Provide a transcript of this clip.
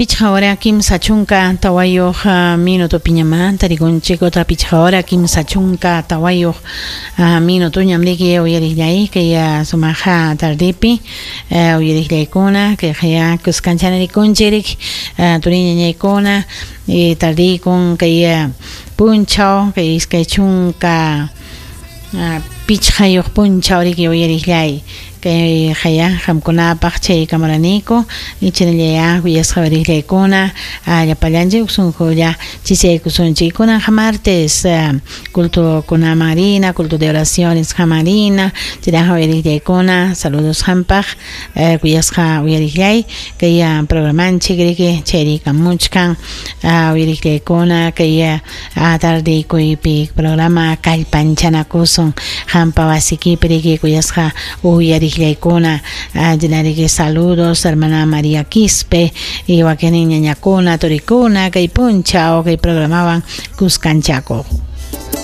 Pichqa hora 34 minutopiñamá tarikunchik, otra pichqa hora 34 minutoñam riki uyariqllay kay sumaqa tardepi uyariqllaykuna kayqaya kuskanchana rikunchik turiñañaykuna tardiykun kay punchaw kay 25 punchaw riki uyariqllay kay haya qamkunapaq chay kamaraniku ichinallaya kuyasqa uyariqllaykuna llapallanchik sunqulla chichaykusunchik. Kunanqa martes culto kunaman rina, culto de oraciones qaman rina chayraqa uyariqllaykuna saludos qampaq kuyasqa uyariqllay kay programanchik riki chayrikamuchkan uyariqllaykuna kay tardeykuypi programa kallpanchanakusun qampa wasikipi riki kuyasqa uyariqllaykuna chinariki saludos hermana María Quispe y wakin ñañakuna turikuna kay punchaw kay programawan kuskanchakuq.